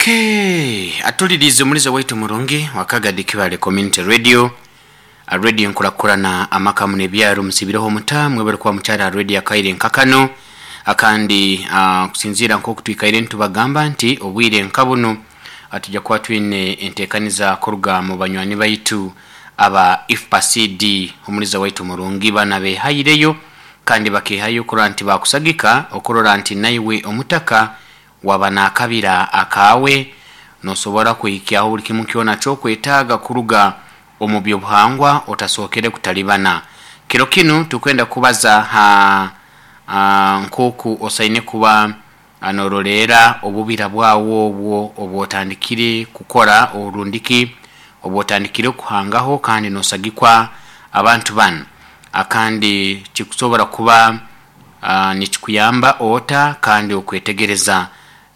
Okay, atulirize omuliza waitu murungi wa Kagadi Kibale Community Radio, radio enkurakurana amaka muno ebyaro. Musibireho muta mwebale kuba mukyali ha radio akaire nkakano akandi. Kusinziira nk'oku twikaire nitubagamba nti obwire nka bunu tujja kuba twine enteekaniza kuruga mu banywani baitu aba IFPA-CD. Omuliza waitu murungi, bana behaireyo kandi bakehayo okurora nti bakusagika okurora nti naiwe omutaka waba nakabira akaawe nosobora kuhikyaho buli kimu kyona kyokwetaaga kuruga omu by'obuhangwa otasookere kutalibana. Kiro kinu tukwenda kubaza ha nk'oku osaine kuba noroleera obubira bwawe obwo obwotandikire kukora orundiki obwotandikire kuhangaho kandi nosagikwa abantu banu, akandi kikusobora kuba nikikuyamba ota, kandi okwetegereza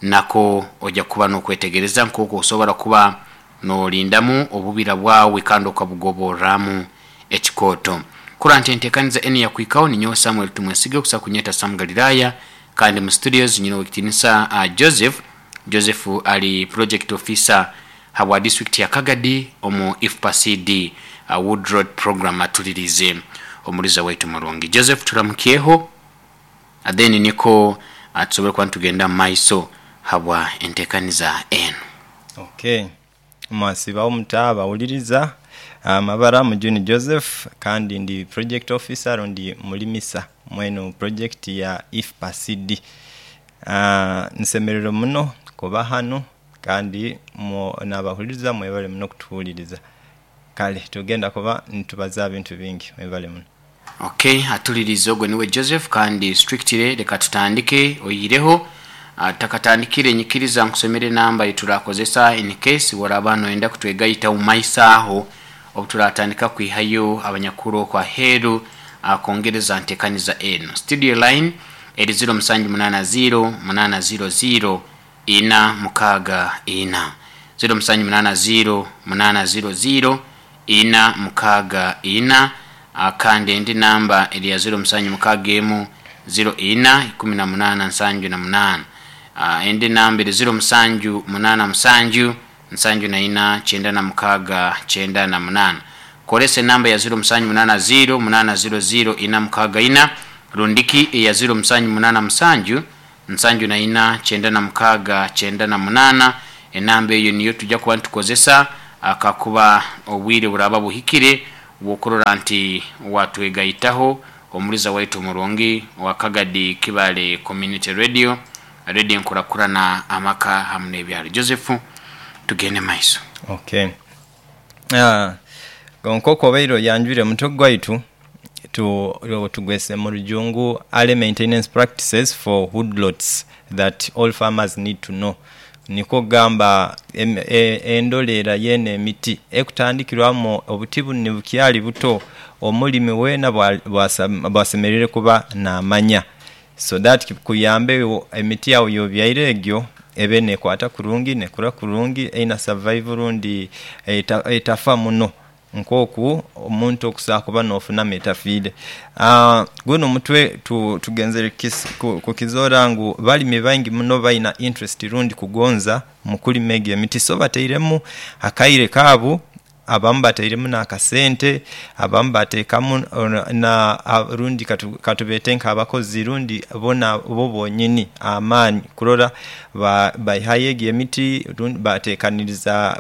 nako ojja kuba nokwetegereza nk'oku osobora kuba norindamu obubira bwawe kandi okabugoborramu ekikooto. Kurora nti enteekaniza enu yakuhikaho, ninyowe Samuel Tumwesige, okusobola kunyeta Sam Galilaya, kandi mu studios nyine ow'ekitiinisa Joseph. Joseph ali project officer habwa district ya Kagadi omu IFPA-CD Wood Road Program. Atuliriize omuliza waitu murungi. Joseph, turamukyeho, then niko tusobole kuba nitugenda mu maiso habwa enteekaniza enu. Okay, mwasiibaho muta abawuliriza? Amabara Mujuni Joseph kandi ndi project officer rundi mulimisa mweno project ya IFPA-CD. Nsemereirwe muno kuba hanu kandi nabahuliriza mwebale muno kutuhuliriza. Kale tugenda kuba nitubaza bintu bingi, mwebale muno. Ok, atulirize ogwo niwe Joseph kandi strictly leka tutandike oihireho tutakatandikire nyikiriza nkusomere enamba eyiturakozesa in case woraba noyenda kutwegaita omu maiso aho obuturatandika kwihayo abanyakuru okwo aheeru kwongereza ntekaniza enu. Studio line eri ziro musanju munana ziro munana ziro ziro ina mukaaga ina, ziro musanju munana ziro munana ziro ziro ina mukaaga ina, kandi endi namba eri ya ziro musanju mukaaga emu ziro ina ikumi na munaana nsanju na munaana. Endi namba eri ziro musanju munaana musanju nsanju na ina kyenda na mukaaga kyenda na munaana. Koresa enamba ya ziro musanju munaana ziro munaana ziro ziro ina mukaaga ina rundiki eya ziro musanju munaana musanju nsanju na ina kyenda na mukaaga kyenda na munaana. Enamba eyo niyo tujja kuba nitukozesa kakuba obwire buraba buhikire bw'okurora nti watwegaitaho omuliza waitu omurungi owa Kagadi Kibale Community Radio, radio enkurakurana amaka hamu n'ebyaro. Joseph, tugende maiso. Okay. Nk'oku obaire oyanjwire omutwe gwaitu, tugwese mu Rujungu Early Maintenance Practices for Woodlots that all farmers need to know. Nikwo kugamba endolera y'eno emiti ekutandikirwamu obuti bunu ni bukyali buto, omulimi weena bw'asemereire kuba naamanya so that kikuyambe emiti agho y'obyaire egyo ebe n'ekwata kurungi, n'ekura kurungi, eine survive rundi etafa muno. Nk'oku omuntu okusobola kuba n'ofunamu etafiire. Guno omutwe tugenzere kukizoora ngu balimi baingi muno balina interest rundi kugonza mu kulima egyo emiti so batairemu akaire kaabu, abamu batairemu n'akasente, abamu bateekamu na rundi katubeete nk'abakozi rundi bona bo bonyini amaani kurora Baihaayo egyo emiti,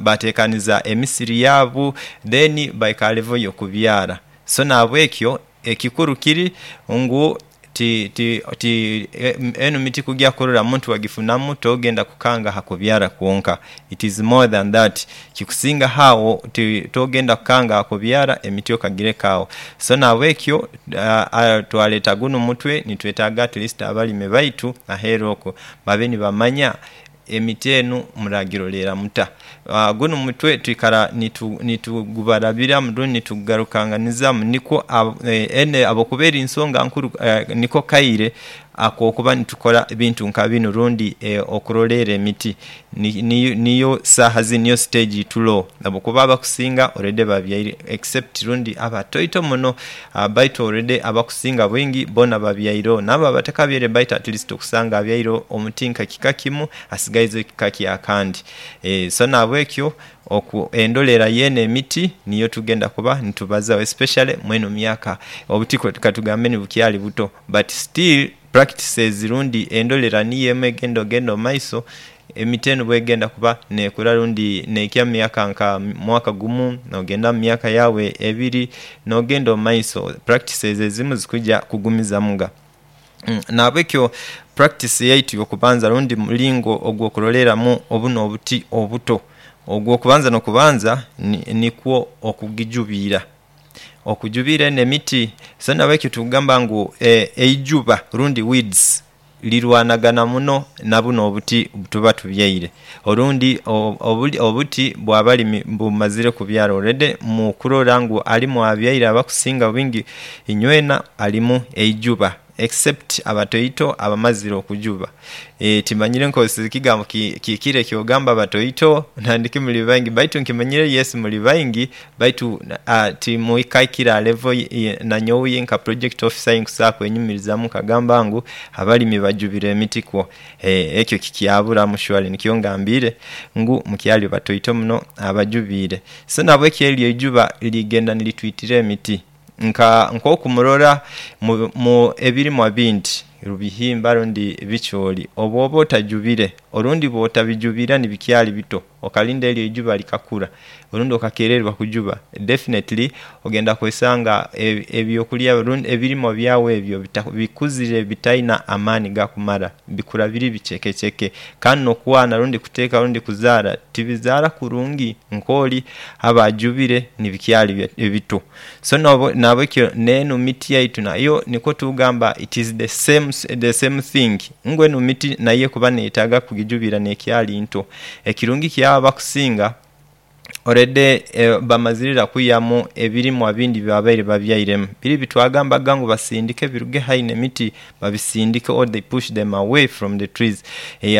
baateekaniza emisiri yaabu, then baika ha level y'okubyara. So nahabwekyo ekikuru kiri ngu ti ti ti enu miti kugya kurora muntu wagifunamu togenda kukanga ha kubyara kwonka. It is more than that. Kikusingaho agho, togenda kukanga ha kubyara emiti okagireka agho. So nahabwekyo twaleeta gunu omutwe nitwetaaga at least abalimi baitu aheeru okwo babe nibamanya emiti enu muragiroleera muta. Gunu mutwe twikara nitugubarabiramu rundi nitugugarukanganizamu nikwo ene habwokuba eri nsonga nkuru niko kaire. akokuba nitukora ebintu nka binu rundi okuroleera emiti niyo saaha zinu niyo siteegi turoho habwokuba abakusinga olredi babyaire except rundi abatoito muno baitu olredi abakusinga bwingi boona babyaireho naabo abatakabyaire baitu atleast okusanga abyaire omuti nka kika kimu asigaizeyo kika kyakandi. So nahabwekyo oku endolera yeeno emiti niyo tugenda kuba nitubazaho especially mweno myaka obuti katugambe ni bukyali buto but still practices rundi endolera niyo emu egenda ogenda omumaiso emiti eni bwegenda kuba nekura rundi neikya omumyaka nka mwaka gumu nogenda omumyaka yawe ebiri nogenda omumaiso practices ezimu zikuja kugumizamuga. Nahabwekyo practice yaitu eyokubanza rundi mulingo ogwokuloleramu obuno obuti obuto, ogwokubanza nokubanza nikwo okugijubira, okujubira eno emiti. So nahabwekyo tugamba ngu eijuba rundi weeds lirwanagana muno nabuno obuti bwetuba tubyaire. Orundi obuti bwabalimi bumazire kubyara already mukurora ngu alimu abyaire abakusinga obwingi inywena alimu eijuba except abatoito abamazire okujuba. Timanyire nkozeseize ekigambo kihikire ekyogamba abatoito nandiki muli baingi baitu nkimanyire yes muli baingi baitu timukaikire aha levo nanyowe nka pulojekiti ofisa yinkusobola kwenyumirizamu nkagamba ngu abalimi bajubire emiti kwo. Ekyo kikyaburamu surely nikyo ngambiire ngu mukyali batoito muno abajubiire. So nahabwekyo eryo eijuba ligenda niritwitira emiti nka nkoku murora mu ebirimwa bindi bihimba rundi bicooli, obwoba otajubire orundi bwotabijubira nibikyali bito okalinda eryo eijuba likakura orundi okakererwa okujuba definitely ogenda kwesanga ebyokulya rundi ebirimwa byawe ebyo bikuzire bitaina amaani gakumala bikura biri bicekeceke kandi nokwana rundi kuteka rundi kuzaala tibizaala kurungi nkoli aba ajubire nibikyali bito. So nahabwekyo neno miti yaitu nayo nikwo tugamba it is the same thing ngu eno miti nayo ekuba neyetaga kugijubira nekyali nto. Ekirungi kyawo abakusinga already bamazire ira okwiiyamu ebirimwa bindi byebabaire babyairemu. Biri byetwagambaga ngu basindike biruge haihi nemiti babisindike or they push them away from the trees.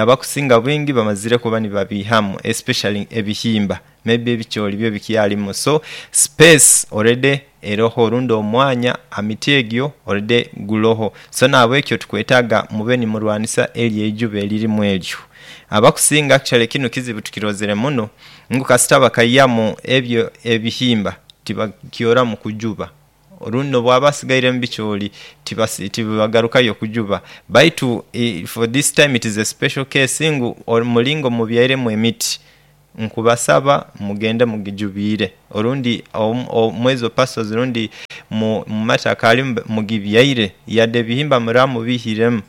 Abakusinga bwingi bamazire kuba nibabiihamu especially ebihimba maybe ebicooli byo bikyalimu so space already eroho rundi omwanya aha miti egyo already guloho. So nahabwekyo tukwetaaga mube nimurwanisa eryo eijuba eririmu eryo. Abakusinga actually kinu kizibu tukirozere muno ngu kasita bakaiyamu ebyo ebihimba tibakyoramu kujuba orundi nobwaba asigairemu bicooli tibagarukayo kujuba baitu for this time it is a special case ngu omulingo mubyairemu emiti nkubasaba mugende mugijubiire orundi mwezo parcels rundi mumataka ali mugibyaire yadde ebihimba muraba mubiiremu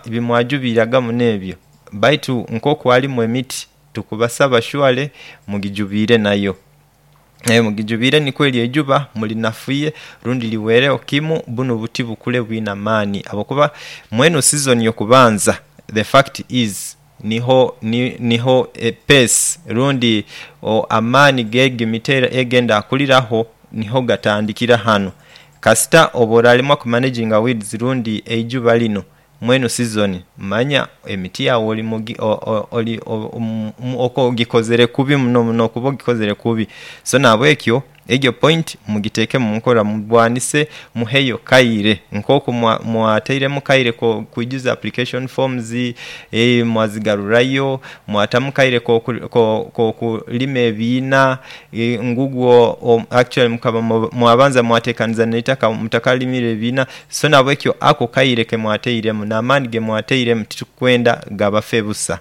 bimwajubiiraga muno ebyo baitu nkoku alimu emiti tukubasaba surely mugijubiire nayo. Mugijubiire nikwo eryo eijuba mulinafuye rundi liweeregho kimu buno obuti bukule bwine amaani habwokuba mweno sizoni eyokubanza the fact is niho epesi rundi amaani gego emiti egenda akuliragho niho gatandikira ghano. Kasita oba oralemwa okumanejinga weeds rundi eijuba lino mweno sizoni manya emiti yawe ogikozere kubi muno muno okuba ogikozere kubi. So nahabwekyo egyo pointi mugitekemu omukola mulwanise mugheyo kaire nkoku mwatairemu kaire kwijuza application forms, mwazigarurayo, mwatamu kaire kokulima ebiina ngugwo actually mukaba mwabanza mwatekaniza neitaka mutakalimire ebiina. So nahabwekyo ako akaire kemwatairemu na'maani gemwatairemu titukwenda gabafe busa.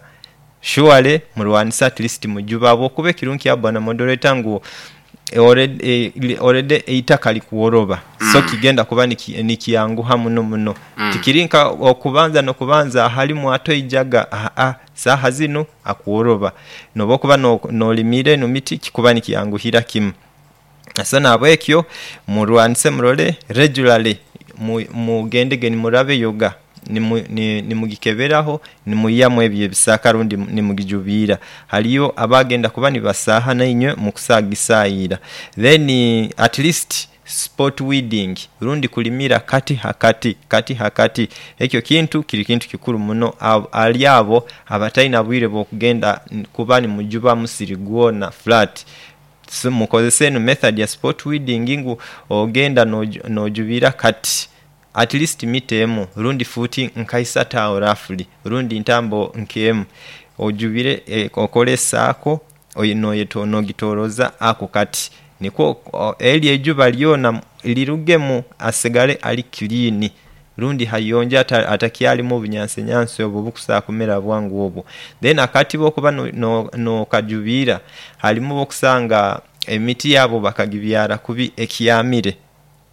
Surely mulwanise atleast mujube habwokuba ekirungi kyaku bwana moderator ngu already eitaka likuworoba so kigenda kuba nikyangugha muno muno. Tikiri nka okubanza nokubanza ahalimu atoijaga aa saha zino akuworoba. Nobwokuba nolimira eno miti kikuba nikyanguhira kimu. So nahabwekyo mulwanise mulole regularly mugendege nimurabayoga nimugikeberagho nimwiiyamu ebyo ebisaka rundi nimugijubiira. Haliyo abagenda kuba nibasaha nainywe mukusagisaira then at least. Spot weeding rundi kulimira kati ha kati, kati ha kati. Ekyo kintu kiri kintu kikuru muno ali abo abataina bwire bwakugenda kuba nimujuba musiri gwona flat. So mukozese enu method ya spot weeding ngu ogenda nojubira kati at least mita emu rundi fuuti nka isatu awo roughly rundi ntambo nk'emu ojubire okole esaako nogitoroza ako kati nikwo eryo eijuba lyona lirugemu asigale ali clean rundi hayonjo atakyalimu obunyansi obwo obukusobola kumera bwangu obwo. Then akati bwokuba nokajubira halimu bwokusanga emiti yabo bakagibyara kubi ekyamire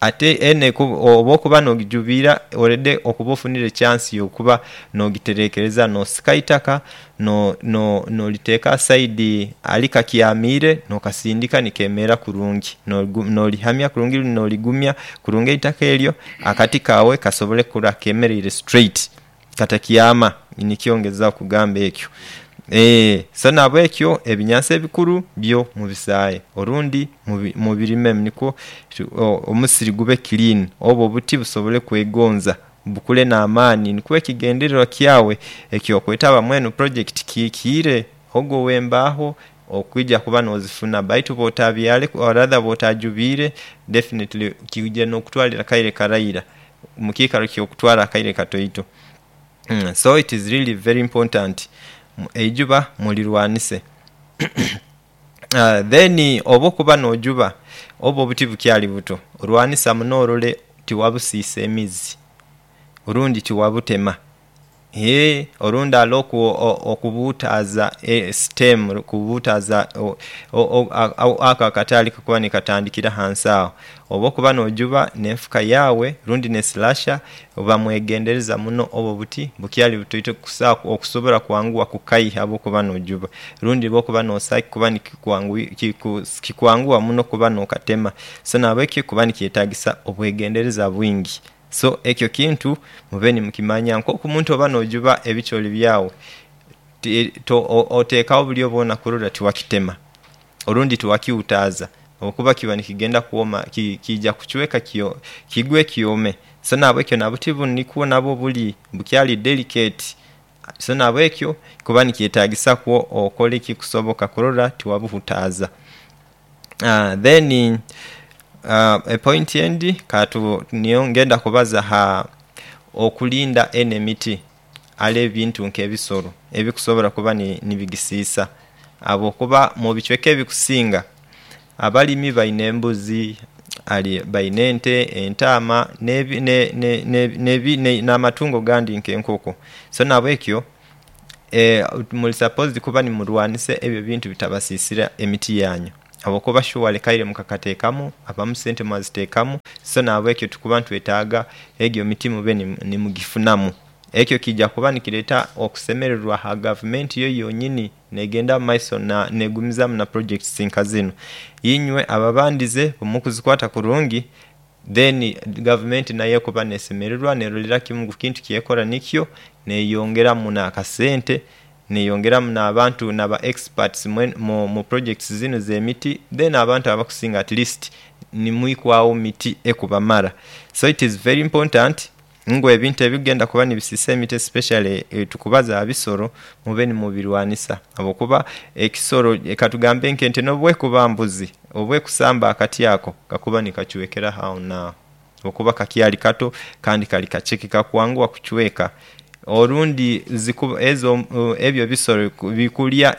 ate eni obwokuba nogijubira already okuba ofunire echansi yokuba nogiterekereza nosika eitaka noliteka asaidi ali kakyamire nokasindika nikemera kurungi nolihamya kurungi noligumya kurungi eitaka eryo akati kawe kasobole okukura kemereire straight katakyama nikyo ngezaku okugamba ekyo. So nabwekyo ebinyansi ebikulu byo mubisaye orundi mubirimemu nikwo omusiri gube clean obwo obuti busobole okwegonza bukule namaani nikwo ekigendererwa kyawe ekyokwetaba mwenu pulojekiti kiikire. Ogo owembawo okwija kuba nozifuna baitu bwotabyare or rather bwotajubire definitely kija nokutwalira akaire karaira mukikaro kyokutwala akaire katoito. So it is really very important eijuba mulirwanise. Then obwokuba nojuba oba obuti bukyali buto lwanisa muno olole tiwabusisa emizi orundi tiwabutema orundi alowo okubutaza estem kubutaza ako akati akakuba nikatandikira ansi awo. Obwokuba nojuba nenfuka yawe rundi ne slasher oba mwegendereza muno oba obuti bukyali butoito okusobola okwanguwa okukaiya bwokuba nojuba rundi bwokuba nosa kikuba kikwanguwa muno okuba nokatema so nabwekyo kikuba nikyetagisa obwegendereza bwingi. So ekyo ekintu mube nimukimanya nkoku omuntu oba nojuba ebicooli byawe, otekawo obulyo bwona okulora tiwakitema orundi tiwakiutaza olwokuba kiba nikigenda kwoma kija kucweka kigwe kyome. So nabwekyo nobuti bunu nikwo nabwo buli bukyali delicate so nabwekyo kikuba nikyetagisa kwo okole ekikusoboka okulora tiwabuutaza. Then epointi endi niyo ngenda kubaza ha okulinda eni emiti ale ebintu nke ebisolo ebikusobola okuba nibigisisa habwokuba mubicweka ebikusinga abalimi balina embuzi, balina ente, entaama namatungo agandi nke enkoko. So nabwekyo muli sapozi kuba nimulwanisa ebyo ebintu bitabasisira emiti yanyu habwokuba shuwali akaire mukakatekamu abamu esente mwazitekamu so nabwekyo tukuba nitwetaga ejo emiti mube nimugifunamu. Ekyo kija kuba nikireta okusemererwa aha gavumenti yo yonyini negenda omumaiso negumizamu na pulojekiti nka zino. Inywe ababandize owemukuzikwata kurungi then gavumenti nayo ekuba nesemererwa nerolera kimu ngu ekintu kyekola nikyo neyongeramu nakasente neyongeramu nabantu naba experts mupulojekiti zino ezemiti then abantu abakusinga atleast nimwikwawo miti ekubamara. So it is very important ngu ebintu ebigenda okuba nibisisa emiti especially tukubaza aha bisolo mube nimubirwanisa habwokuba ekisolo katugambe nke ente nobwekuba mbuzi obwekusamba akati ako kakuba nikacwekerawo awo naawo olwokuba kakyali kato kandi kali kaceke kakwanguwa okucweka. Olundi ezo ebyo ebisolo bikulya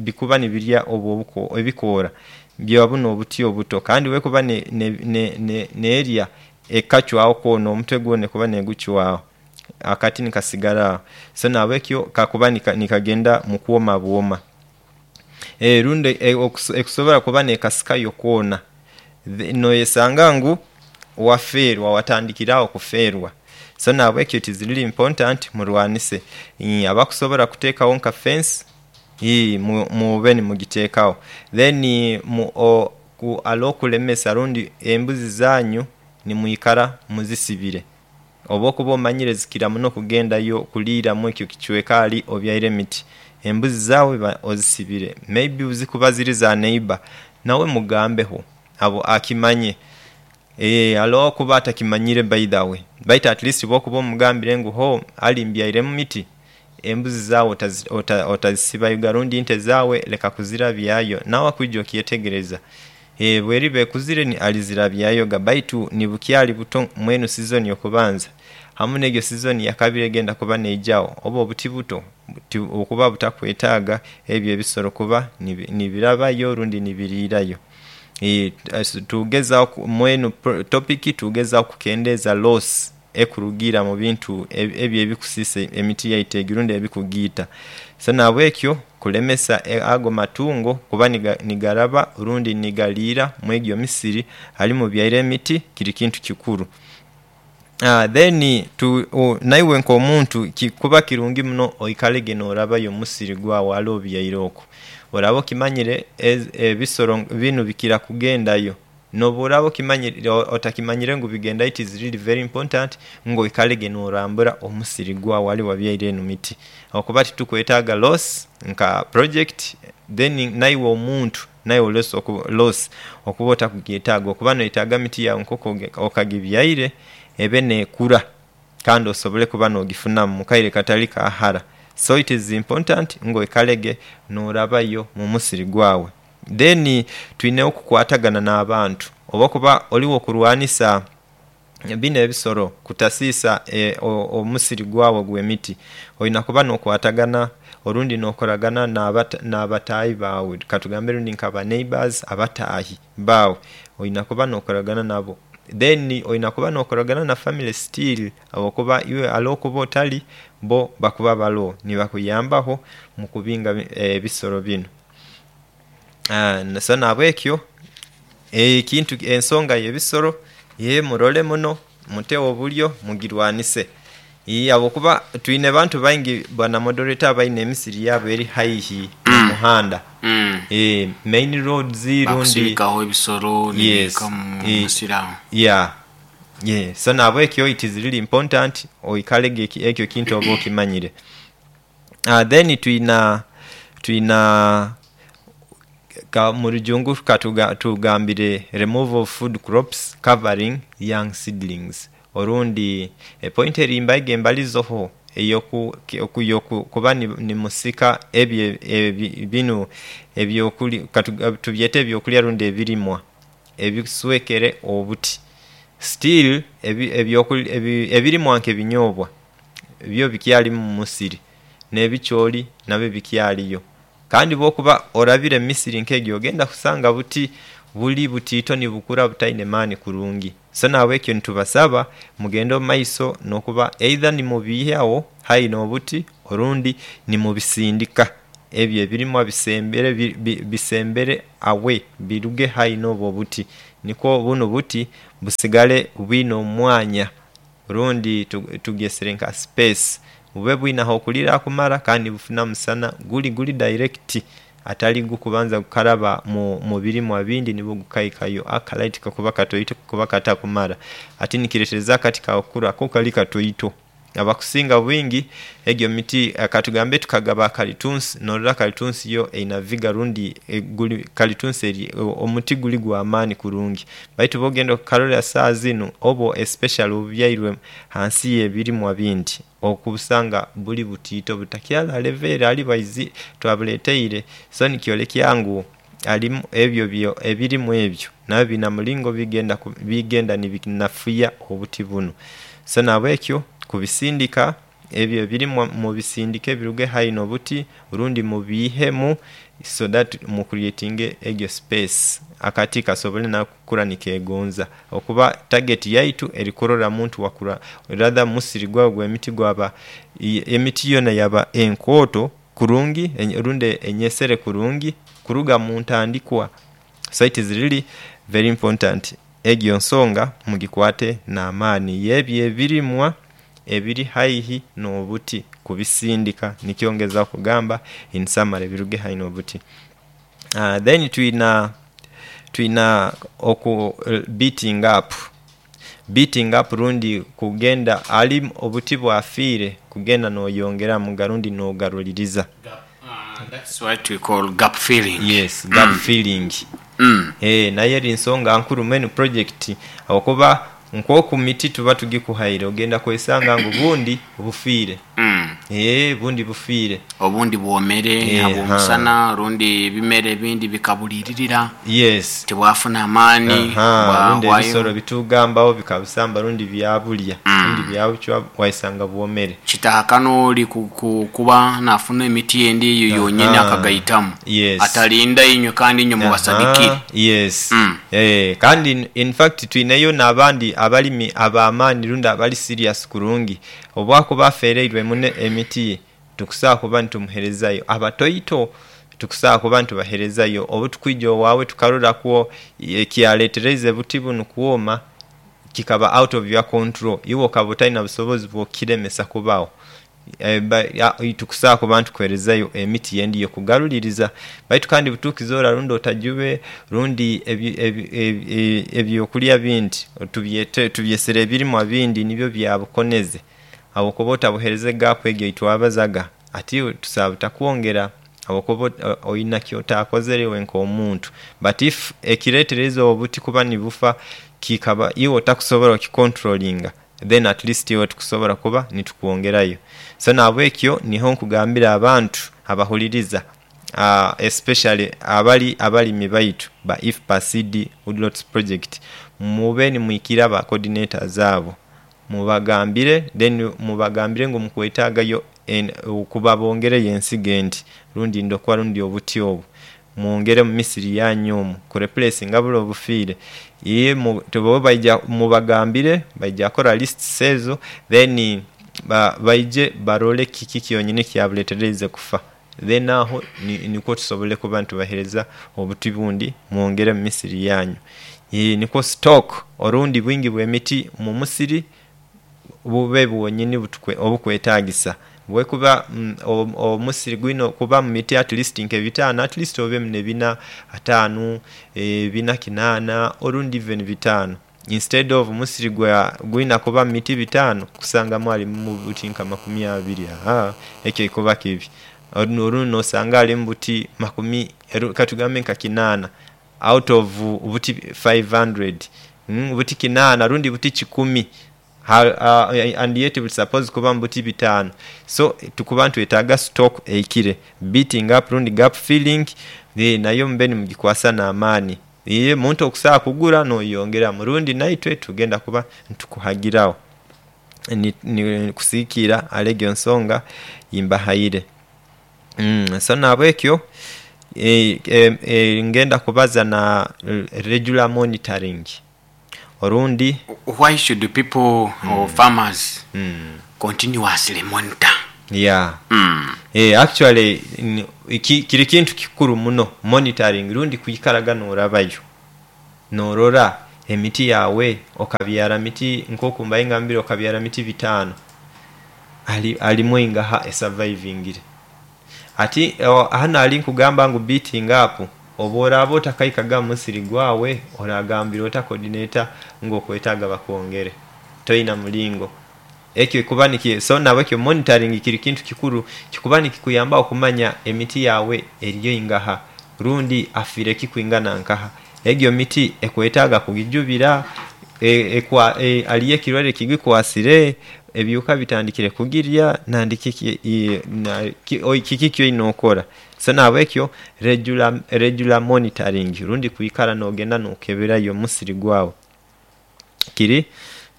bikuba nibirya obwo ebikoora bya bunu obuti obuto kandi bwekuba nerya ekacwawo koona omutwe gwona ekuba negucwawo akati nikasigala awo. So nabwekyo kakuba nikagenda mukwoma bwoma. Rundi ekusobola kuba nekasikayo koona noyesanga ngu waferwa watandikira awo okuferwa. So nabwekyo it is really important mulwanise abakusobola okutekawo nka fence mube nimugitekawo. Then alowo okulemesa rundi embuzi zanyu nimwikara muzisibire oba okuba omanyire zikira muno okugendayo okulira mwekyo ekicweka ali obyaire emiti, embuzi zawe ozisibire may be zikuba ziri za neiba nawe mugambeku akimanye. Eeh aloho okuba atakimanyire by the way baitu at least bwokuba omugambire ngu hoo Ali mbyairemu miti embuzi zaawe otazisibayoga rundi ente zaawe leka kuzirabyayo nawe akwija okyetegereza. Bweriba ekuzire alizirabyayoga baitu nibukyali buto mwenu sizoni eyokubanza hamu negyo sizoni eyakabiri egenda kuba neijawo obwo obuti buto bukuba butakwetaga ebyo ebisolo kuba nibirabayo rundi nibirirayo. Tugezaku mwenu topiki tugezaku okukendeza losi ekurugira mubintu ebyo ebikusisa emiti yaitu egyo rundi ebikugiita. So nabwekyo kulemesa ago matungo kuba nigaraba rundi nigaliira mwegyo emisiri ali mubyaire emiti kiri kintu kikuru. Then naiwe nkomuntu kikuba kirungi muno oikalege norabayo omumusiri gwawe ale obyaire okwo. Oraba okimanyire ebisolo binu bikira kugendayo nobworaba otakimanyire ngu bigendayo it is really very important nga oikalege norambura omusiri gwawe ale wabyaire eno miti okuba titukwetaga loss nka project then naiwe omuntu naiwe loss okuba otakugyetaga okuba noyetaga miti yawe nkoku okagibyaire ebe nekura kandi osobole kuba nogifunamu mukaire katali kahara. So it is important nga oikalege norabayo mumusiri gwawe. Then twine okukwatagana nabantu oba kuba oliwo okulwanisa bino ebisolo kutasiisa omusiri gwawe ogwemiti olina kuba nokwatagana orundi nokolagana nabatahi bawe katugambe rundi nka ba neighbours abatahi bawe olina kuba nokolagana nabo. Then olina kuba nokolagana na famire still habwokuba iwe ale okuba otali bo bakuba balowo nibakuyambaku mukubinga ebisolo bino. So nabwekyo ekintu ensonga yebisolo mulole muno mutewo obulyo mugirwanise habwokuba twine abantu baingi bwana moderator abalina emisiri yabu eri haihi nomuhanda main roads rundi. Bakusirikawo ebisolo nibihika mumusiri awo. Yeah so nabwekyo it is really important oikalege ekyo ekintu obe okimanyire. Then twina twina mu lujungu katugambire removal of food crops covering young seedlings orundi epointi eri mbaire mbalizoho eyokuba nimusika ebyo binu katubyete ebyokulya rundi ebirimwa ebiswekere obuti. Still ebirimwa nke ebinyobwa byo bikyalimu mumusiri nebikyoli nabyo bikyaliyo kandi bwokuba olabire emisiri nkegyo ogenda kusanga buti buli butito nibukura butaine maani kurungi. So nabwekyo nitubasaba mugende omumaiso nokuba either nimubiiyawo haihi nobuti orundi nimubisindika ebyo ebirimwa bisembere away biruge haihi nobwo obuti nikwo bunu obuti busigale bwine omwanya rundi tugyesere nka space bube bwine aghokulira akumala kandi nibufuna omusana guli guli direct atali gukubanza gukaraba mubirimwa bindi nibwo gukaikayo akalight kakuba katoito kakuba katakumala ati nikiretereza akati kawe okukura ko kali katoito. Abakusinga obwingi egyo miti katugambe tukagaba kalitunsi nolola kalitunsi yo erina viga rundi kalitunsi omuti guli gwamani kurungi baitu bwogenda okalola sawa zinu obwo especially obubyairwe ghansi yebirimwa bindi okubusanga buli butito butakyali levo ere ali twabuleteire so nikyolekya ngu alimu ebyo ebirimwa ebyo nabyo birina mulingo bigenda nibinafuya obuti bunu. So nabwekyo kubisindika ebyo ebirimwa mubisindike biruge haihi nobuti rundi mubiihemu so that mukurietinge egyo space akati kasobole nako okukura nikegonza okuba tageti yaitu eri kulola muntu wakura rather omusiri gwawe ogwemiti gwaba emiti yona yaba enkoto kurungi rundi enyesere kurungi kuruga muntandikwa. So it is really very important egyo ensonga mugikwate namaani eyebyo ebirimwa ebiri haihi nobuti kubisindika nikyo ngezaku okugamba in summary biruge haihi nobuti. Then twina oku beating up, beating up rundi kugenda ali obuti bwafiire kugenda noyongeramu rundi nogaluliriza. That's what we call gap filling. Yes, gap filling. Nayo eri nsonga nkuru menu project, habwokuba nkoku miti tuba tugikuhaire ogenda kwesanga ngu bundi bufiire. Bundi bufiire. Obundi bwomere habw'omusana, rundi ebimera ebindi bikabuliiririra. Yes. Tibwafuna amaani. Rundi bwahwayo. Ebisolo bitugambawo bikabusamba rundi byabulya rundi byabucwa, waisanga bwomere. Kitahakana oli kuba nafuna emiti endi eyo yonyini akagaitamu. Yes. Atalinda inywe kandi inywe mubasadikire. Yes. Kandi in fact twineyo n'abandi abalimi ab'amaani rundi abali serious kurungi, obwakuba afereirwe muno emiti ye tukusobola kuba nitumuherezayo abatoito, tukusobola kuba nitubaherezayo obutukwija owaawe tukarorakwo ekyaletereize obuti bunu kwoma kikaba out of your control, iwe okaba otalina busobozi bwokiremesa kubawo, tukusobola kuba nitukuherezayo emiti endi eyokugaruliriza. Baitu kandi butukizora rundi otajube rundi ebyokulya bindi tubyete tubyesere ebirimwa bindi nibyo byabukoneze, habwokuba otabuhereze gap egyo eyitwabazaga, ati tusobola butakwongera habwokuba oyina kyotakozere iwe nkomuntu. But if ekiretereize obuti kuba nibufa kikaba iwe otakusobola okikontrolinga, then at least iwe tukusobola kuba nitukwongerayo. So nahabwekyo niho nkugambira abantu abahuliriza, especially abali abalimi baitu ba IFPA seed woodlots project, mube nimwikira ba coordinators abo mubagambire, then mubagambire ngu mukwetagayo kuba bongereyo ensigo endi rundi ndokwa rundi obuti obwo mwongere omumisiri yanyu omwo kurepulesinga bule obufiire. Bo baija mubagambire baija kola lists ezo then baije barole kiki kyonyini ekyabuletereize kufa, then aho nikwo tusobole kuba nitubahereza obuti bundi mwongere omumisiri yanyu. Nikwo stock orundi bwingi bwemiti omumusiri bube bwonyini obukwetagisa. Bwekuba omusiri gulina kubamu miti at least nke bitaanu, at least obemu ne bina, ataanu, bina kinaana orundi even bitaanu, instead of omusiri gulina kubamu miti bitaanu kusanga alimu buti nka makumi abiri, ekyo kikuba kibi. Olundi nosanga alimu buti makumi katugambe nka kinaana out of buti 500, buti kinaana rundi buti kikumi and yet buli supposed kubamu buti bitaanu. So tukuba nitwetaaga stock eikire, beating up rundi gap filling nayo mube nimugikwasa namaani. Omuntu okusobola kugura noyongeramu rundi naitwe tugenda kuba nitukuhagirawo kusigikiira ahali egyo ensonga yimbahaire. So nahabwekyo ngenda kubaza na regular monitoring orundi. Why should people or farmers continuously monitor? Yeah. Actually kiri kintu kikuru muno monitoring rundi kwikaraga norabayo norora emiti yawe okabyara miti nkoku mbaire ngambire okabyara miti bitaanu, alimu eingaha esurvivingire. Ati hanu ali nkugamba ngu beating up, obworaba otakaikaga mumusiri gwawe oragambira ota coordinator ngu okwetaga bakwongere toina mulingo ekyo kuba so nahabwekyo monitoring kiri kintu kikuru kikuba nikikuyamba okumanya emiti yawe eriyo ingaha rundi afiire ki kwingana nkaha, egyo miti ekwetaga kugijubira, aliyo ekirwaire ekigikwasire, ebiwuka bitandikire kugirya nandi kiki kiki kyolina okola. So nahabwekyo regular monitoring rundi kwikara nogenda nokeberayo omusiri gwawe kiri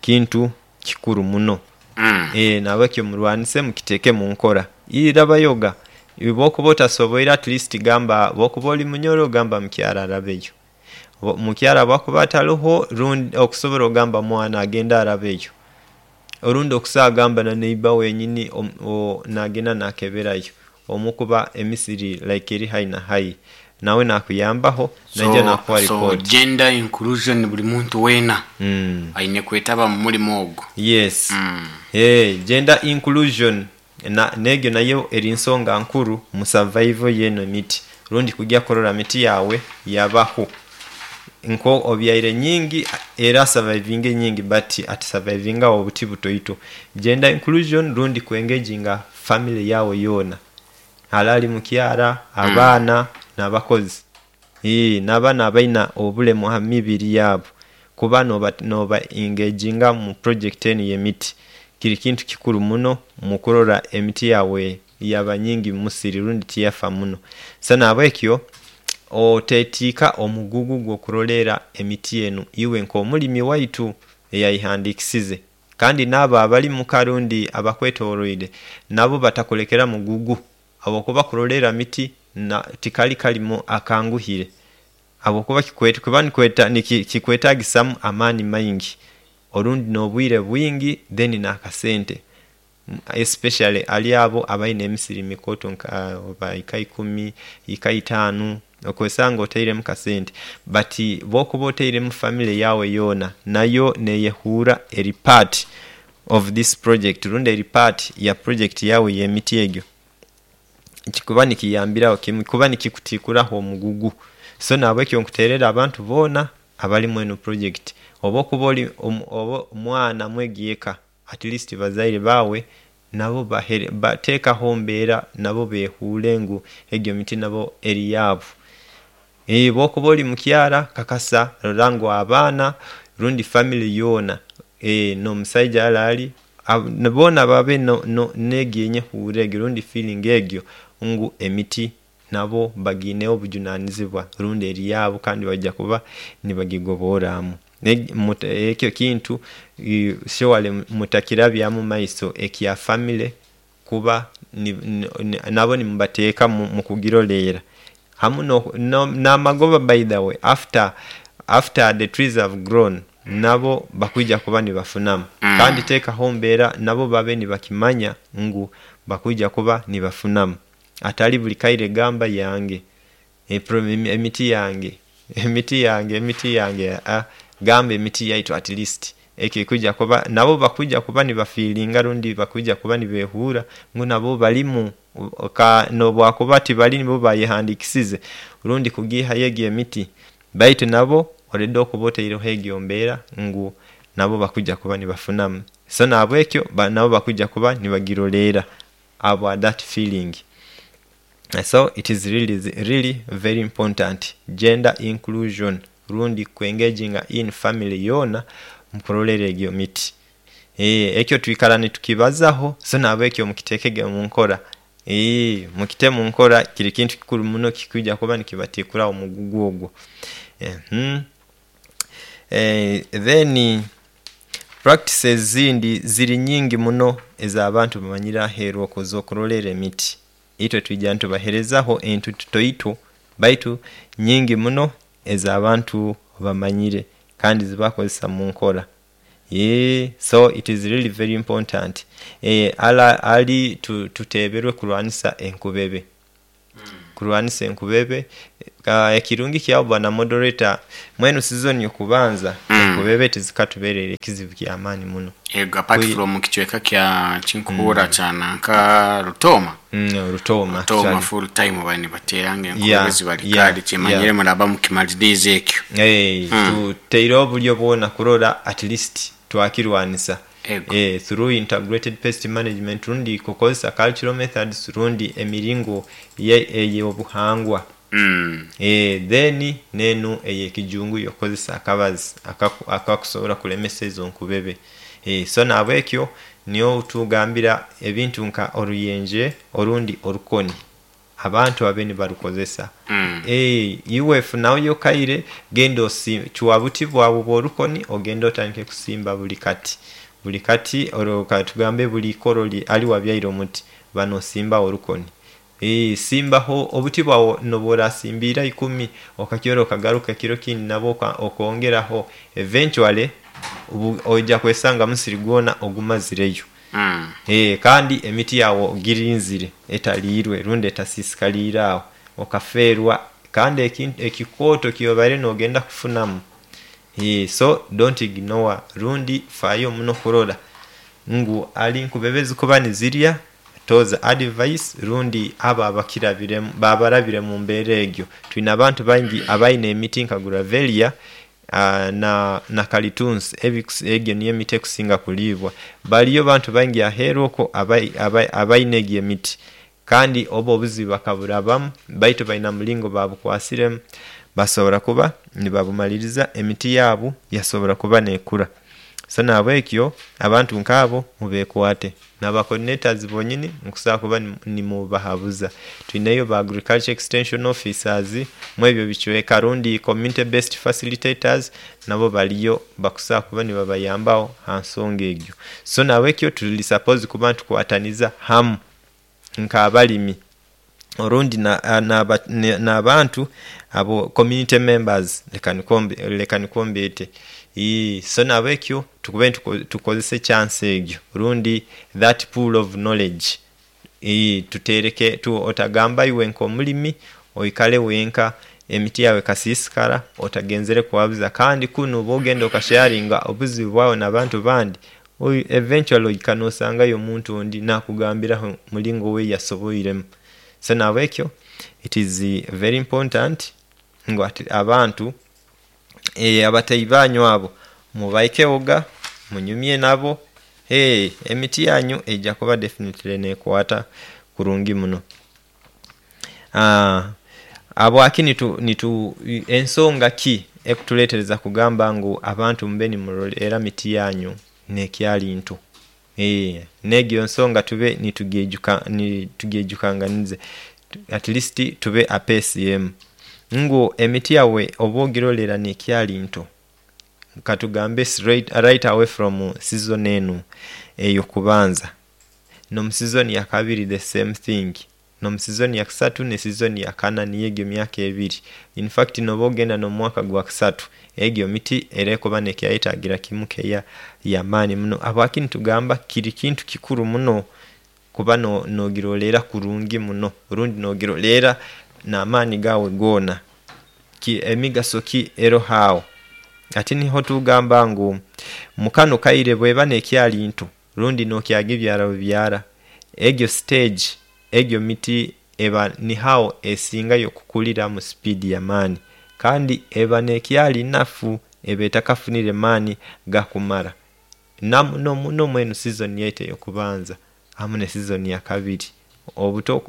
kintu kikuru muno. Nahabwekyo murwanise mukiteke omunkora. Rabayoga bwokuba otasoboire at least gamba bwokuba oli munyoro gamba mukyara arabeyo, omukyara bwakuba ataloho rundi okusobola ogamba omwana agende arabeyo, orundi okusobola gamba na neiba wenyini nagenda nakeberayo omukuba emisiri like eri hai na hai nawe nakuyambaho naija nakuwa So report. Gender inclusion, buli muntu weena aine kwetaba mu mulimu ogwo. Yes. Gender inclusion negyo nayo eri nsonga nkuru mu survival yeno emiti rundi kugya kurora miti yawe yabaho. Nko obyaire nyingi era asurvivinge nyingi but atisurvivinga obuti butoito. Gender inclusion rundi kwengeijinga family yawe yona, alali mukyara, abaana nabakozi. N'abaana abaina obulemu ha mibiri yaabu kuba noba engaginga mu project enu ey'emiti kiri kintu kikuru muno mu kurora emiti yaawe yaba nyingi mu musiri rundi tiyafa muno. So nahabwekyo otetiika omugugu gw'okuroleera emiti enu iwe nk'omulimi waitu eyayehandikisize, kandi naabo abali muka rundi abakwetoroire nabo batakulekera mugugu habwokuba kuroleera miti tikali kalimo akanguhire habwokuba kikwetagisamu amaani maingi orundi n'obwire bwingi then n'akasente, especially hali abo abaine emisiri emikooto nka oba eka ikumi, eka itaanu, okwesanga otairemu kasente but bwokuba otairemu famire yaawe yoona nayo neyehuura eri part of this project rundi eri part ya project yaawe ey'emiti egyo, kikuba nikiyambiraho kimwe kuba nikikutikuraho omugugu. So nahabwekyo nkuterera abantu boona abali mwenu project, oba okuba oli oba mwana mwegi eka, at least bazaire baawe nabo tekaho embeera nabo behuure ngu egyo miti nabo eri yaabu. Bwokuba ori mukyara kakasa rora ngu abaana rundi famire yoona n'omusaija hali ali boona babe negyo enyehuura egyo rundi feeling egyo ngu emiti nabo bagiineho obujunanizibwa rundi eri yaabu kandi baija kuba nibagigoborramu. Ekyo ekintu surely mutakirabyamu maiso ekya famire kuba nabo nimubatekamu mukugiroreera hamu n'amagoba by the way after the trees have grown nabo bakwija kuba nibafunamu kandi tekaho embeera nabo babe nibakimanya ngu bakwija kuba nibafunamu atali buli kaire gamba yange, emiti yange, emiti yange, emiti yange aa gamba emiti yaitu at least ekyo ekwija kuba nabo bakwija kuba nibafiiringa rundi bakwija kuba nibehuura ngu nabo balimu nobwakuba tibali nibo bayehandikisize rundi kugihayo egyo emiti baitu nabo already okuba otaireho egyo mbeera ngu nabo bakwija kuba nibafunamu. So nahabwekyo nabo bakwija kuba nibagiroreera habwa that feeling. So it is really really very important gender inclusion rundi kwengeginga in family yoona mukurolera egyo miti. Ekyo twikara nitukibazaho so nahabwekyo mukitekege omunkora. Mukite munkora kiri kintu kikuru muno kikwija kuba nikibatikuraho omugugu ogwo. Then practices ezindi ziri nyingi muno ez'abantu bamanyire aheeru okwo ez'okurolera emiti. Itwe twija nitubaherezaho entu tutoito baitu nyingi muno ez'abantu bamanyire kandi zebakozesa munkora. So it is really very important ali tuteberwe kurwanisa enkubebe, kurwanisa enkubebe. Ekirungi kyawu bwana moderator, mwenu sizoni yokubanza enkubebe tizikatubereire kizibu kyamaani muno. Ego apart from kichweka kya kinkuhura kya nanka Rutoma. Rutoma Rutoma full time bali nibateranga enkubebe zibali kali kyemanyire muraba mukimaliriize ekyo. Tutaireho obulyo bwona kurora at least twakirwanisa through integrated pest management rundi kukozesa cultural methods rundi emiringo ey'obuhangwa. Then n'enu ey'ekijungu y'okukozesa akabazi akakusobola kulemesa ezo nkubebe. So nahabwekyo nyowe tugambira ebintu nka oruyenje orundi orukoni abantu babe nibarukozesa. Iwe funayo okaire genda osimbe, cwa buti bwawe obw'orukoni ogende otandike kusimba buli kati, buli kati katugambe buli ikoro ali wabyaire omuti ba nosimbawo orukoni. Simbaho obuti bwawe nobworasimbiire ikumi okakyora okagaruka ekiro ekindi nabwo okongeraho eventually oija kwesanga omusiri gwona ogumazireyo. Kandi emiti yawe ogirinzire etaliirwe rundi etasisikaliire awo okafeerwa kandi ekikooto kyobaire nogenda kufunamu. So don't ignore rundi faayo muno kurora ngu ali nkubebe ezikuba nizirya toza advice rundi abo abakirabiremu abarabire mumbeera egyo. Twine abantu baingi abaine emiti nka gravelia na kalitunsi egyo niyo emiti ekusinga kulibwa. Baliyo abantu baingi aheru okwo abaine egyo emiti kandi obwo obuzibu bakaburabamu baitu baine omulingo babukwasiremu. Basobora kuba nibabumaliriza, emiti yaabu yasobora kuba neekura. So nahabwekyo abantu nkaabo mubekwate, naba coordinators bonyini mukusobola kuba nimubahabuza. Twineyo ba agriculture extension officers mwebyo ebicweka rundi community based facilitators nabo baliyo bakusobola kuba nibabayambaho ha nsonga egyo. So nahabwekyo tuli supposed kuba nitukwataniza hamu nk'abalimi orundi n'abantu abo community members leka nikwo mbeete. So nahabwekyo tukube tukozesa echansi egyo rundi that pool of knowledge, tutereke, otagamba iwe nk'omulimi oikale wenka emiti yaawe ekasiisikara otagenzere kuhabuza kandi kunu bwogenda okasheyaringa obuzibu bwawe n'abantu bandi, eventually ohika nosangayo omuntu ondi nakugambiraho omulingo we yasoboiremu. So nahabwekyo it is very important ngu abantu abataahi banyu abo mubaikehoga munyumye nabo, emiti yanyu eija kuba definitely nekwata kurungi muno. Habwaki ensonga ki ekutuletereza kugamba ngu abantu mube nimurolera emiti yanyu nekyali nto? Negyo ensonga tube nitugyejukanganiza atleast tube ha pace emu ngu emiti yawe oba ogirolera nekyali nto, katugambe right away from season enu eyokubanza, nomu season yakabiri the same thing, nomu season yakusatu ne season yakana niyo egyo emyaka ebiri, infact noba ogenda nomumwaka gwa kusatu egyo emiti era ekuba nekyayetagira kimu keya yamaani muno. Habwaki nitugamba kiri kintu kikuru muno kuba nogirolera kurungi muno rundi nogirolera namaani gawe goona. Emigaso ki eroho awo? Hati niho tugamba ngu mukanu akaire bweba nekyali nto rundi nokyagibyara bubyara, egyo stage egyo miti eba niho awo esingayo okukulira mu speedi yamaani kandi eba nekyali nafu eba etakafunire maani gakumara namuno muno mwenu sizoni yaitu eyokubanza hamu ne sizoni yakabiri,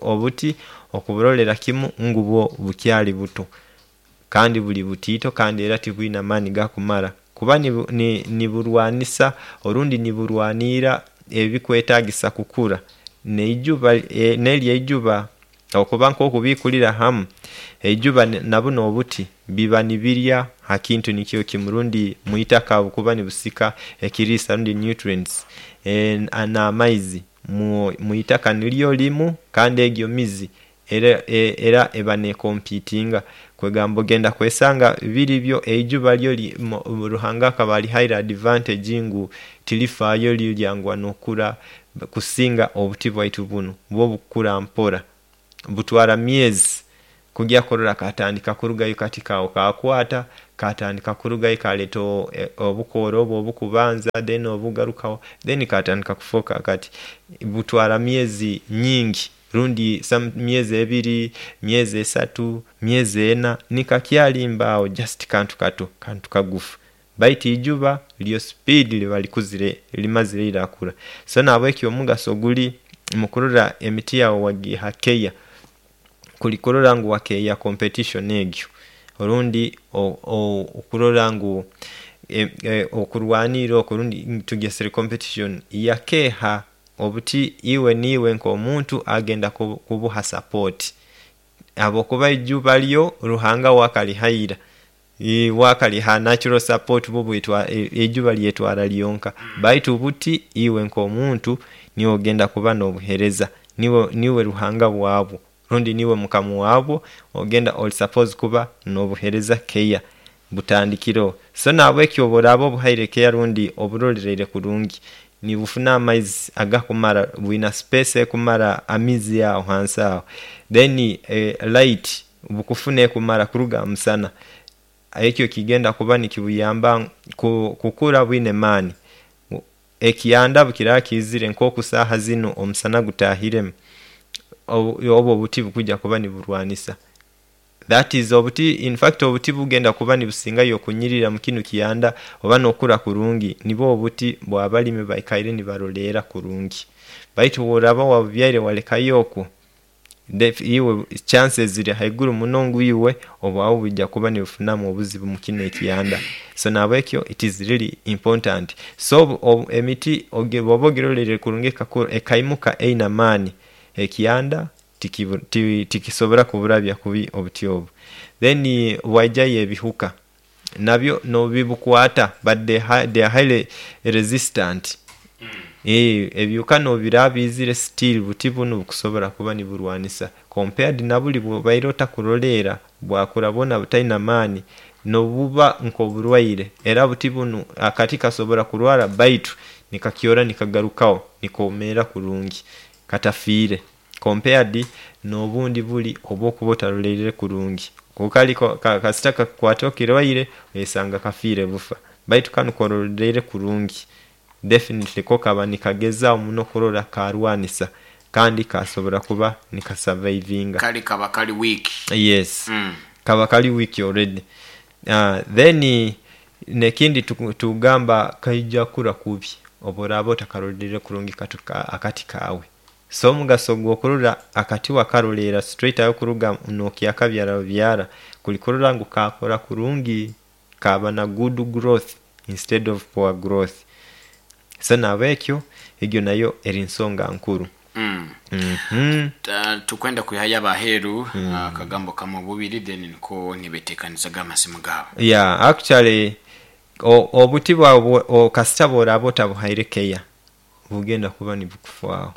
obuti okuburolera kimu ngu bwo bukyali buto kandi buli butiito kandi era tibwina maani gakumara kuba niburwanisa orundi niburwanira ebikwetagisa kukura neijuba neryo eijuba habwokuba nkokubikurira hamu, eijuba nabunu obuti biba nibirya hakintu nikyo kimu rundi mwitaka habwokuba nibusika ekirisa rundi nutrients na'maizi mwitaka niryo limu kandi egyo mizi era eba nekompitinga kwegamba ogenda kwesanga biri byo eijuba ryo Ruhanga akaba alihaire advantage ngu tirifayo ryo ryanguha nokura kusinga obuti bwaitu bunu bwo bukura mpora, butwara myezi kugya kurora katandika kurugayo kati kawe kakwata katandika kurugayo kaleta obukora obwo obukubanza then obugarukawo then katandika kufuka akati. Butwara myezi nyingi rundi myezi ebiri, myezi esatu, myezi ena nikakyali mbe awo just kantu kato kantu kagufu baitu eijuba ryo speedi riba likuzire limazire ira kura. So nahabwekyo omugaso guli mukurora emiti yawe wagiha keya, kuli kurora ngu wakeya competition egyo orundi okurora ngu okurwanira okwo rundi tugyesere competition yakeha obuti iwe niiwe nkomuntu agenda kubuha support habwokuba eijuba ryo Ruhanga we akariha ira, we akariha natural support bwo eijuba ryetwara lyonka baitu buti iwe nkomuntu niiwe ogenda kuba nobuhereza, niiwe Ruhanga wabwo rundi niiwe mukama wabwo ogenda oli supposed kuba nobuhereza keya butandikireho. So nahabwekyo obworaba obuhaire keya rundi oburolereire kurungi, nibufuna amaizi agakumara, bwina space ekumara amizi ago hansi awo, then light bukufuna ekumara kuruga hamusana, ekyo kigenda kuba nikibuyamba kukura bwine maani. Ekyanda bwekiraba kizire nkoku saha zinu omusana gutahiremu, obwo obuti bukujja kuba niburwanisa, that is obuti infact obuti obugenda kuba nibusingayo okunyirira mukinu ekyanda oba nokura kurungi nibwo obuti bwabalimi abu baikaire nibarolera kurungi baitu bworaba wabubyaire walekayo okwo. Iwe chances ziri haiguru muno ngu iwe obwawe bwija kuba nibufunamu obuzibu mu kinu ekiyanda. So nahabwekyo it is really important. So emiti bwoba ogirolereire kurungi ekakura ekaimuka eine amaani, ekiyanda tikisobora kuburabya kubi obuti obu. Then bwaijayo ebihuka, nabyo nobibukwata but they are highly resistant. Ebihuka nobiraba biizire still obuti bunu bukusobora kuba niburwanisa compared nabuli bwobaire otakuroleera bwakura bwona butaine maani nobuba nkoburwaire era obuti bunu akati kasobola kurwara baitu nikakyora nikagarukaho nikomeera kurungi katafiire compared nobundi buli obwokuba otarolereire kurungi. Kali kasita kakukwata ekirwaire oyesanga kafiire bufa baitu kanu korolereire kurungi definitely ko kaba nikagezaho muno kurora karwanisa kandi kasobola kuba nikasavaivinga. Kale kaba kali weak. Yes, kaba kali weak already. Then nekindi tugamba kaija kura kubi obworaba otakarolereire kurungi akati kawe. So omugaso gwokurora akati wakarolera straight away kuruga nokyakabyara bubyara kuli kurora ngu kakura kurungi, kaba na good growth instead of poor growth. So nahabwekyo egyo nayo eri nsonga nkuru. Tukwenda kwihayo abaheru akagambo kamwe obubiri then niko nibetekanizaga amasimu gaabo. Yeah, actually obuti bwawe kasita bworaba otabuhaire care bugenda kuba nibukufaaho.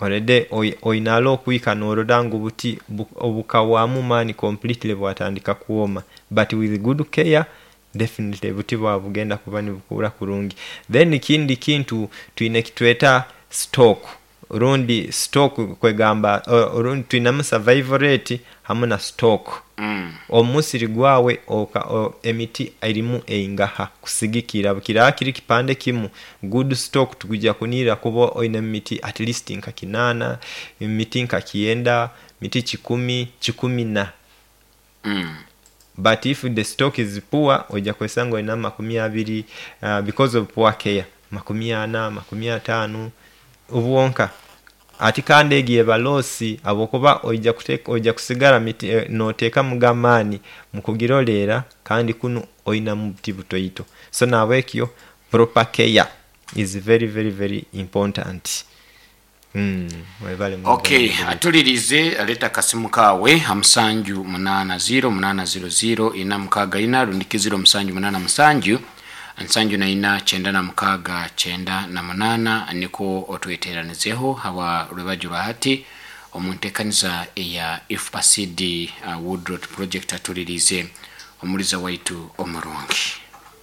Already oine okwika norora ngu obuti bukahwamu amaani completely bwatandika kwoma, but with good care definitely obuti bwawe bugenda kuba nibukura kurungi. Then ekindi kintu twine ekitweta stock, rundi stock kwegamba rundi twinemu survival rate hamu na stock. Omusiri gwawe emiti erimu eingaha kusigikira bwekiraba kiri kipande kimu, good stock tukwija kunira kuba oine emiti at least nka kinaana, emiti nka kyenda, miti kikumi, kikumi na. But if the stock is poor, oija kwesanga oinamu 20 because of poor care, 40, 50 bwonka. Ati kandi egyo eba loss habwokuba oija kusigara notekamuga amaani mukugirolera kandi kunu oinamu obuti butoito. So nahabwekyo proper care is very very very important. Webale muno. Okay, atulirize aleta akasimu kawe ha musanju munaana ziro munaana ziro ziro ina mukaaga ina rundiki ziro musanju munaana musanju nsanju na ina kyenda na mukaaga kyenda na munaana niko otweteranizeho hawa rwebagyo rwa hati omu ntekaniza eya IFPA Seed Woodlot Project atulirize omuliza waitu omurungi.